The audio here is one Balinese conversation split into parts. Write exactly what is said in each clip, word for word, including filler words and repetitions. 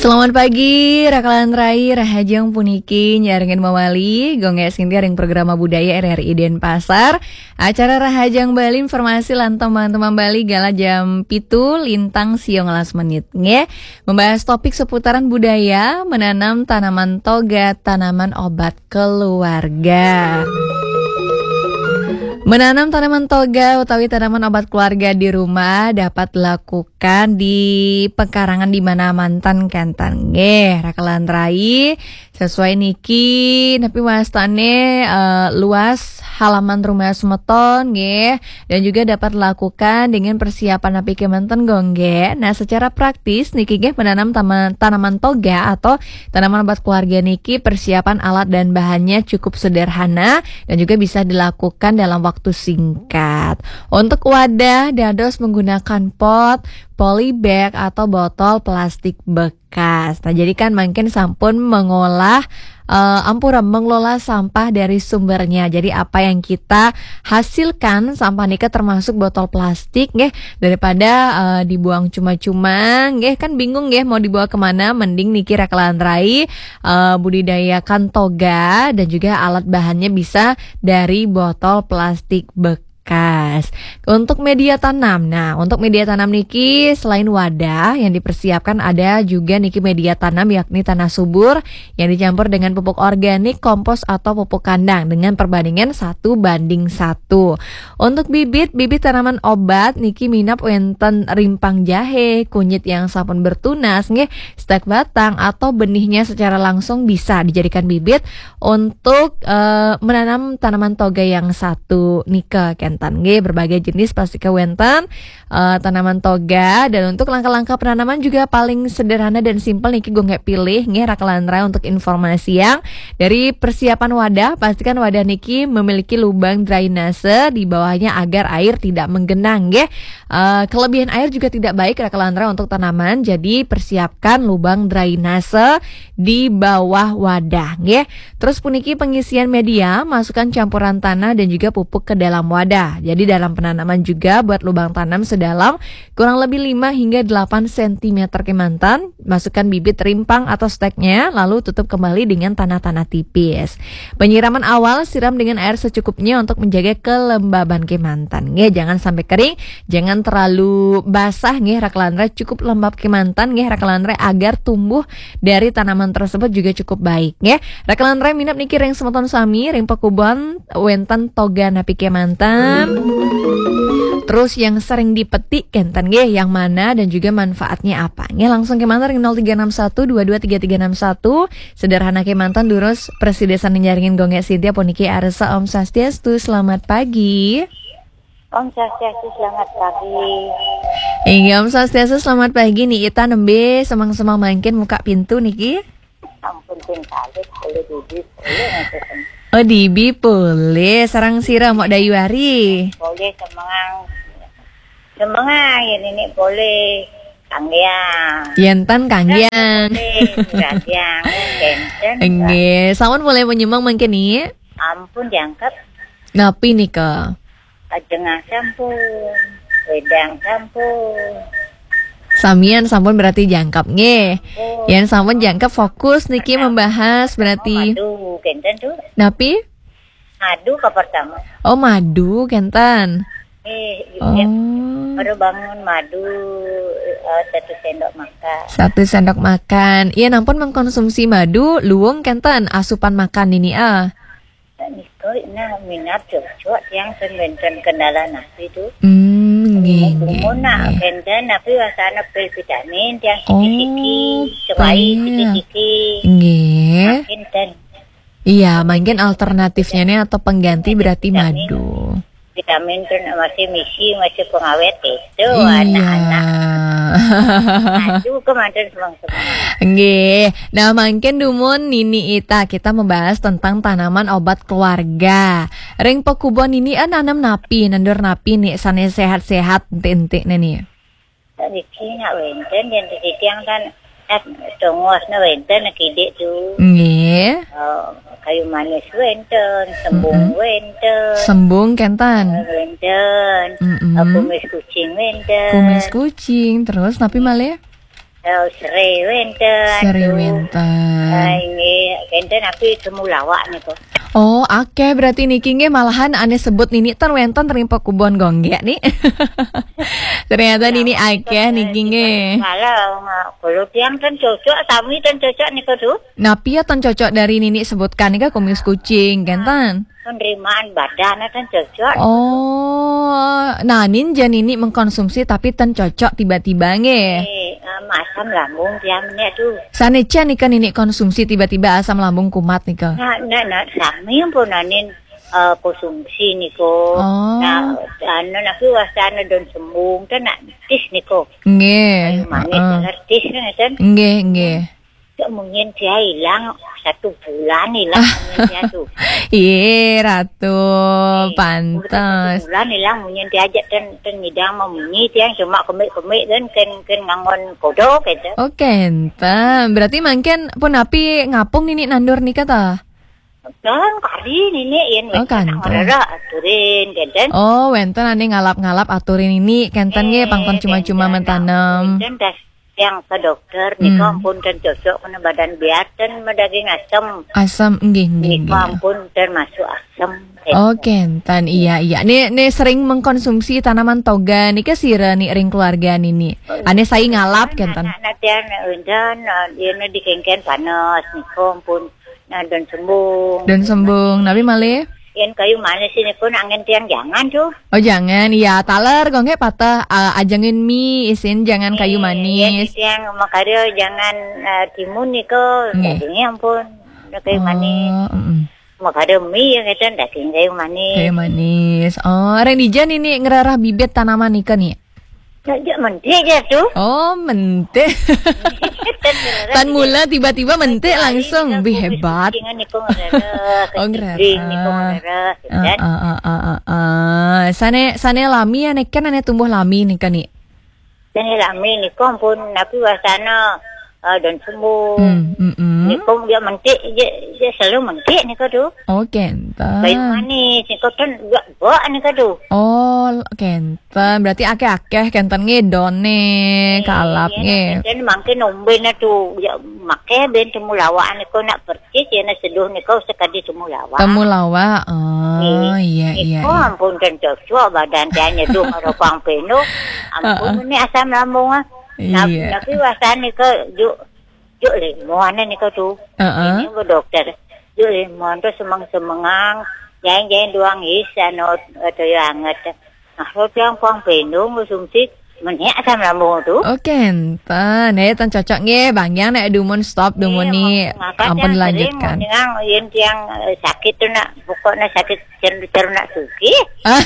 Selamat pagi, Rakalan Rai, Rahajeng puniki nyarengin mawali, Gung Gé Sinti ring programa budaya R R I Denpasar. Acara Rahajeng Bali, informasi lan tembang-tembang Bali, galah jam pitu lintang siang welas menit, nggih. Membahas topik seputaran budaya, menanam tanaman toga, tanaman obat keluarga. Menanam tanaman toga utawi tanaman obat keluarga di rumah dapat dilakukan di pekarangan di mana mantan kenten nggih, Rakalan Rai. Sesuai niki, napi wastane, eh, luas halaman rumah semeton nggih, dan juga dapat dilakukan dengan persiapan napi kemanten, Gung Gé. Nah, secara praktis niki nggih, menanam tama-, tanaman toga atau tanaman obat keluarga niki, persiapan alat dan bahannya cukup sederhana dan juga bisa dilakukan dalam waktu singkat. Untuk wadah dados menggunakan pot, polybag atau botol plastik bekas. Nah, jadi kan mangkin sampun mengolah, eh, ampura, mengelola sampah dari sumbernya. Jadi apa yang kita hasilkan sampah nika termasuk botol plastik nggih, daripada, eh, dibuang cuma-cuma nggih, kan bingung nggih mau dibawa kemana, mending niki Rakalan Rai, eh, budidayakan toga dan juga alat bahannya bisa dari botol plastik bekas. Untuk media tanam. Nah, untuk media tanam niki selain wadah yang dipersiapkan, ada juga niki media tanam, yakni tanah subur yang dicampur dengan pupuk organik, kompos atau pupuk kandang dengan perbandingan satu banding satu. Untuk bibit, bibit tanaman obat niki minab wenten rimpang jahe, kunyit yang sampun bertunas nggih, stek batang atau benihnya secara langsung bisa dijadikan bibit untuk, eh, menanam tanaman toga yang satu nika kenten nggih, berbagai jenis pasti kawenten, eh, tanaman toga. Dan untuk langkah-langkah penanaman juga paling sederhana dan simpel niki, Gung Gé pilih nggih, Rakalan Rai, untuk informasi yang dari persiapan wadah, pastikan wadah niki memiliki lubang drainase di bawahnya agar air tidak menggenang nggih. Eh, kelebihan air juga tidak baik, Rakalan Rai, untuk tanaman, jadi persiapkan lubang drainase di bawah wadah nggih. Terus puniki pengisian media, masukkan campuran tanah dan juga pupuk ke dalam wadah. Jadi dalam penanaman juga buat lubang tanam sedalam kurang lebih lima hingga delapan sentimeter kemanten, masukkan bibit rimpang atau steknya, lalu tutup kembali dengan tanah-tanah tipis. Penyiraman awal, siram dengan air secukupnya untuk menjaga kelembaban kemanten nggih. Jangan sampai kering, jangan terlalu basah nggih, Rakalan Rai, cukup lembab kemanten nggih, Rakalan Rai, agar tumbuh dari tanaman tersebut juga cukup baik nggih. Rakalan Rai minab niki ring semeton sami, ring pekubon wenten toga napi kemanten. Terus yang sering dipetik kenten nggih, yang mana dan juga manfaatnya apa nggih. Langsung kemanten ring nol tiga enam satu dua dua tiga tiga enam satu. Sederhana kemanten, durus prasida nyarengin Gung Gé Sinti puniki, arsa Om Swastiastu, selamat pagi. Om Swastiastu, selamat pagi. Inggih, Om Swastiastu, selamat pagi. Ni Ita nembe semeng-semeng mangkin muka pintu niki. Ampun, ping kalih, boleh Bibi, boleh ngaten. Oh, Dibi boleh, sareng sira Mok Dayuari. Boleh semengang. Semengang, ya, Nini boleh. Kanggiang. Yenten kanggiang. Boleh, kanggiang. Kenten. Nggih, sampun mulai menyemeng mangkin ni. Ampun, jangkep. Napi nika? Ajengah sampun. Wedang sampun. Samian sampun berarti jangkep nggih. Oh. Yen sampun jangkep, fokus niki membahas berarti. Oh, madu, kenten tu. Napi? Madu ke pertama. Oh, madu kenten. Eh, oh. Baru bangun madu, eh, satu sendok makan. Satu sendok makan. Iya, nampun mengkonsumsi madu, luwung kenten asupan makan niki, ah. Nika, nah, minat cocok yang sing wenten kendala napi tu. Hmm, nggih, nggih, nak nggih. Kenten, tapi rasanya pil vitamin yang siki-siki, oh, cemai pil. Siki-siki. Nggih. Kenten. Iya, mungkin alternatifnya nih atau pengganti berarti vitamin. Madu. Vitamin tu nak masih misi, masih pengawet itu. Iya. Anak-anak. Madu kemanten semang-semang. Nggih. Nah, mangkin dumun Nini Ita, kita membahas tentang tanaman obat keluarga. Ring pekubon Nini, eh, nanam napi, nandur napi nih, sane sehat-sehat, enti-enti nih. Niki nak wenten, yang titiang kan, nak tongosna wenten, nak kidik tu. Nggih. Eh, kayu manis wenten, sembung, mm-mm, wenten. Sembung kenten. Eh, wenten. Mm-mm. Eh, kumis kucing wenten. Kumis kucing, terus napi malih? Oh, sere wénten. Sere wénten. Ah, inggih, kénten aku temulawak niku. Oh, akéh berarti niki nggih, malahan ané sebut nini ten wénten ring pakubon Gonggék ni. Ternyata nini akéh niki nggih. Kalau, kalau tiang ten cocok, sami ten cocok niku tuh. Napi ya ten cocok dari nini sebutkan nika, kumis kucing, kénten? Penerimaan badan ten cocok. Oh, nanin ja nini mengkonsumsi tapi ten cocok tiba-tiba nggih. Eh, eh, asam lambung tiang nih tuh. Sané can nika nini konsumsi tiba-tiba asam lambung kumat nika? Nah, nah, nah, sami pun nanin, eh, konsumsi niku. Oh. Nah, anu napi wastana daun sembung ten nak tis niku. Nggih. Kayu manis, heeh, tis kan? Nggih, nggih. Cek munyin sia ilang satu bulan ilang munyin sia tuh. Iya, Ratu, eh, pantes. Satu bulan ilang munyin sia aja ten, ten ngidang memunyi tiang cuma kemik-kemik kan, kan, kan ngangon kodok gitu. Oh, kénten. Berarti mangkin pun napi ngapung nini nandur nika ta? Dan kari nini yen. Oh, wénten kantos. Ngrereh aturin, kénten. Oh, wénten ané ngalap-ngalap aturin nini, kénten nggih, eh, pang ten cuma-cuma kénten, mentanem. Wénten das yang ke dokter, hmm, nika ampun ten cocok kena badan biar ten medaging asem. Asem, nggih, nggih, nika nggih. Ampun termasuk asem. Oh, kénten, iya, iya. Né, né sering mengkonsumsi tanaman toga nika sira ni ring keluarga nini? Ané sai ngalap, kénten? Anak-anak tiang, wénten, eh, yen dikéngkén panas, nika ampun. Nah, daun sembung. Daun sembung, napi malih? Yen kayu manis niku nak angin tiang jangan tuh. Oh, jangan. Iya, taler, Gonggék pateh, eh, ajengin mi isin jangan kayu manis. Yen tiang makarya jangan, eh, timun niku, nggih, dagingnya ampun. Udah kayu manis. Oh, mm-mm. Makarya mi ya, kita daging kayu manis. Kayu manis. Oh, ring dija nini ngrereh bibit tanaman nika ni? Ya, ya, mentik aja tuh. Oh, mentik. Tan mula tiba-tiba mentik langsung. Bih, hebat. Kucingan niku ngrereh, oh, ngrereh. Kecimpring niku ngrereh, gitu kan. Ah, ah, ah, ah, ah, ah. Sané, sané lami ya, nek kan ané tumbuh lami nika ni. Sané lami niku ampun napi wastana, eh, daun sembung. Hmm, mm-mm. Niku dia mentik, dia, dia selalu mentik niku tuh. Oh, kénten. Kayu manis niku ten juga bak niku tuh. Oh, kénten. Berarti akéh-akéh kénten nggih doné, eh, kalap nggih. Kénten mangkin ombéna tuh, ya maké ben temulawak niku nak persis ya, nak seduh niku sekadi temulawak. Temulawak. Oh, iya, iya, iya. Niku ampun ten cocok badan tiang nyeduh karo pang peno. Ampun, heeh, ini asam lambung, ah. Nah, iya. Tapi wastana niku juk, juk limon niku tuh. Heeh. Ini bu dokter. Juk limon tuh semeng-semengang, jain-jain duang is anu, eh, toya anget. Nah, roti yang pang peno konsumsi, menék asam lambung tuh. Oh, kénten. Nih, ten cocok nggih, Bang Yang nek dumun stop dumun ni. Iya, makanya ampun sering dilanjutkan. Mendengar yen tiang, eh, sakit tuh nak, pokoknya sakit ceru-ceru nak sugih. Ah.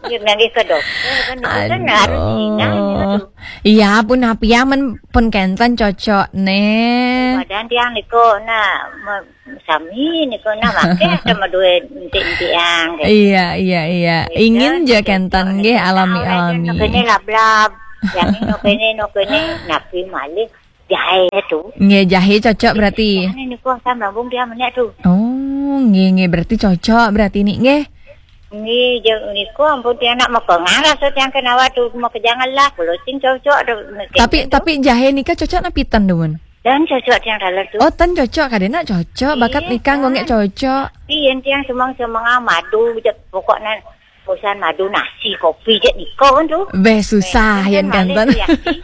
Dia nggih ke dokter kan, itu kan harus ingat gitu. Aduh. Iya, pun apiaman pun kénten cocok nih. Badan tiang niku, nah, me-, sami niku, nah, maké sama duwe entik-entikan, gitu. Iya, iya, iya. Gitu, ingin ja gitu. Kénten nggih, alami-alami. Nah, kene lab-lab, yang ini kene, no kene, napi malih jahe tuh. Nggih, jahe cocok berarti. Ini niku asam lambung dia menék tuh. Oh, nggih, nggih, berarti cocok berarti ni nggih. Nggih, je-, niku ampun tiang nak mekengang rasa tiang kenawa tuh, mau kejangan lah, kalau sing cocok tuh. Tapi, tapi jahe nika cocok napi ten dumun? Dan cocok tiang taler tuh. Oh, ten cocok, kadéna cocok. Bakat nika nggo nggih cocok. Tapi yen tiang semeng-semengang madu, je-, pokoknya urusan madu nasi, kopi je nika kan tuh. Beh, susah yen kan malih kénten. Tuh, Yakti.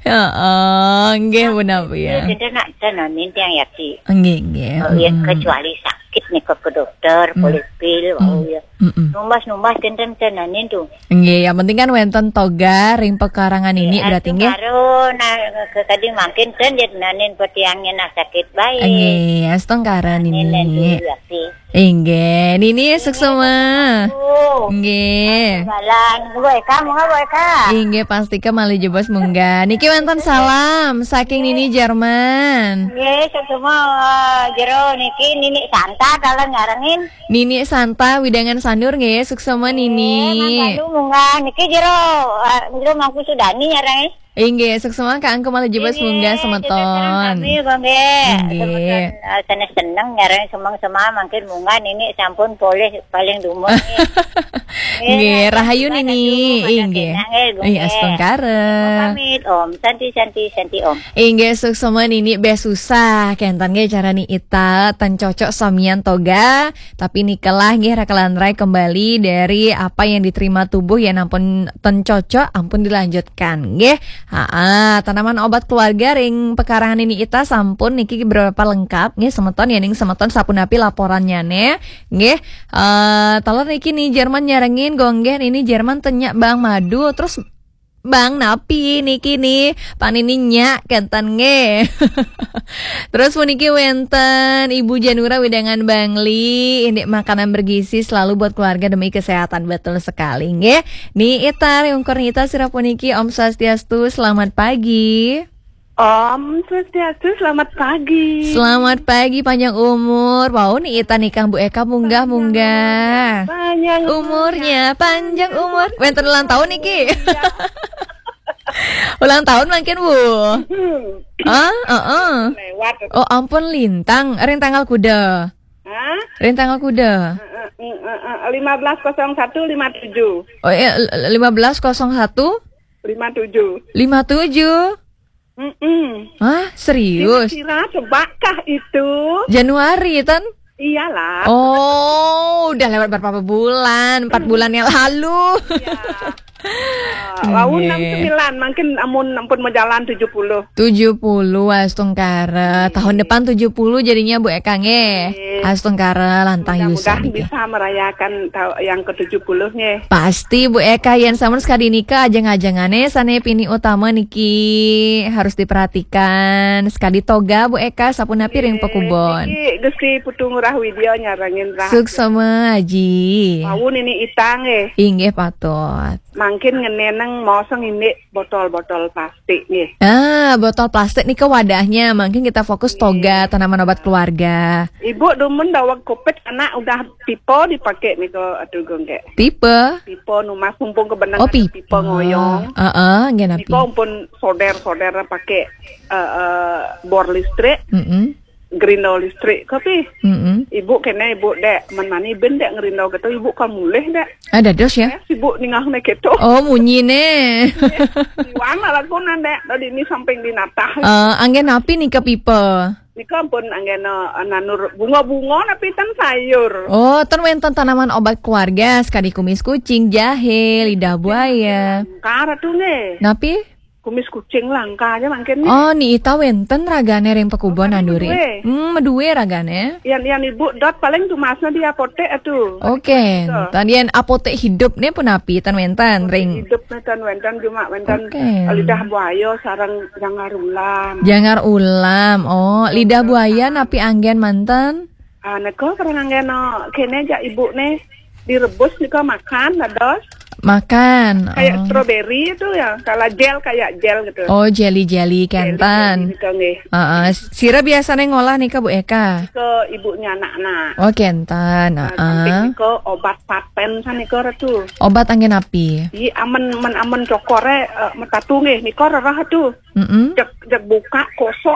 Heeh, nggih, nah, benar, ya. Kita nak tenanin tiang Yakti. Nggih, nggih. Oh, ya, mm-mm, kecuali sakit nika ke dokter, mm, polipil, mm, oh, ya. Mm-mm. Numbas-numbas kénten tenanin tuh. Nggih, yang penting kan wénten toga ring pekarangan ini berarti nggih. Karo nah, ke tadi mangkin ten yen nanin petiangnya nah sakit baik. Nggih, astungkara nini. Nini. Inggih, nini suksma. Oh. Nggih. Jalan, Bu Eka, monggo Bu Eka. Inggih, pastika malih jebos munggah. Niki wénten salam saking nini Jerman. Nggih, suksma, eh, jero niki nini Santa kalau nyarengin. Nini Santa, wewidangan Sanur nggih, suksma nini. Nggih, mangga munggah. Niki jero, eh, jero Mangku Sudani nyarengin. Inggih, suksma Kak Angku malih jebos munggah semeton. Nggih, semeton sami, Bang, nggih. Nggih. Semeton, eh, seneng-seneng nyarengin semeng-semeng mangkin munggah nini sampun polih paling dumun nggih. Nggih, rahayu Nini. Inggih. Nggih, astungkara. Om pamit, Om. Santi, Santi, Santi, Om. Inggih, suksma Nini, bé susah. Kénten nggih cara Ni Ita, ten cocok samian toga. Tapi nikalah nggih, rakalan rai kembali dari apa yang diterima tubuh ya, ampun ten cocok, ampun dilanjutkan nggih. Haa, tanaman obat keluarga ring pekarangan Nini Ita sampun niki beberapa lengkap nggih semeton, ya ning semeton sapunapi laporannya nih. Nggih, eh, taler niki Ni Jerman nyarengin, gonggén ini Jerman ten nyak bang madu, terus bang napi niki nih, pan ini nyak kénten nggih. Terus puniki wénten Ibu Janura wedangan Bangli, ini makanan bergizi selalu buat keluarga demi kesehatan, betul sekali nggih. Ni Ita, ungkur Ni Ita sira puniki, Om Swastiastu, selamat pagi. Om Swastiastu, selamat pagi. Selamat pagi, panjang umur. Wau Ni Ita nikang Bu Eka munggah-munggah. Panjang umurnya, panjang umur. Wénten ulang tahun niki. Ulang tahun mangkin, Bu. Hmm. Ah, heeh. Lewat. Oh, ampun lintang. Ring tanggal kuda. Hah? Ring tanggal kuda. Heeh, heeh, heeh. Lima belas kosong satu lima tujuh. Oh, iya, lima belas kosong satu? Lima tujuh. Lima tujuh? Mm-mm. Hah, serius? Kira-kira sebakah itu? Januari, tan? Iyalah. Oh, udah lewat berapa bulan? Empat bulan yang lalu. Iya. Ah, wau enam sembilan, mungkin amun ampun majalan tujuh puluh. Tujuh puluh, astungkara. Tahun depan tujuh puluh jadinya Bu Eka nggih. Astungkara, lantang yusa. Mudah-mudahan bisa merayakan tau-, yang ke tujuh puluh nggih. Pasti Bu Eka, yén sampun sekadi nika ajeng-ajengane sane pini utama niki harus diperhatikan. Sekadi toga Bu Eka, sapunapi ring pekubon. Niki Gusti Putu Ngurah Widya nyarengin rah. Suksma, Aji. Wau Nini Ita nggih. Inggih patut. Mangkin ngeneneng maos ngindik botol-botol plastik nggih. Ah, botol plastik nika wadahnya. Mangkin kita fokus toga, tanaman obat keluarga. Ibu dumun daweg covid anak udah pipa dipakai nika, aduh, gonggek. Pipa? Pipa numas, mumpung kebenang. Oh, ada pipa. Pipa ngoyong. Heeh, nggih napi? Nika ampun soder-soder pakai, eh, eh, bor listrik. Mm-mm. Gerindo listrik kopi. Mm-mm. Ibu kene, ibu dek, men mani ben dek ngerindo gitu, ibu kan mulih dek. Ada dos ya? Eh, sibuk ningah ne gitu. Oh, munyi ne. Iwang lah lagu nandek, tadi ini samping di natah. Eh, anggen api nika pipa? Nika pun anggen, eh, nanur bunga-bunga napi tan sayur. Oh, ten wenten tanaman obat keluarga, sekadi kumis kucing, jahe, lidah buaya. Kara tuh nge. Napi? Kumis kucing langka aja mangkin nih. Oh, Ni Ita wenten ragane ring pekubon, oh, anduri. Medue. Hmm, medue ragane. Yan, yan ibu dot paling tumasnya di apotek atuh. Oke, gitu. Tadi yang apotek hidup nih pun api tan wenten ring. Hidup nih tan wenten cuma wenten lidah buaya sarang jangar ulam. Jangar ulam. Oh, lidah buaya napi anggen manten? Ah, neko kadang anggen no, kene aja ibu nih direbus nika makan, dados. Makan. Kayak strawberry itu ya, kalau gel kayak gel gitu. Oh, jelly-jelly kenten. Jelly-jelly nika nggih. Heeh. Sira biasanya ngolah nika Bu Eka? Ke ibunya anak-anak. Oh, kenten. Nah, heeh. Samping nika obat paten sanika Ratu. Obat anggen api? Iya, amen, men amen cokore, eh, metatu nggih, nika rerah tuh. Mm-mm. Jek, jek buka kosok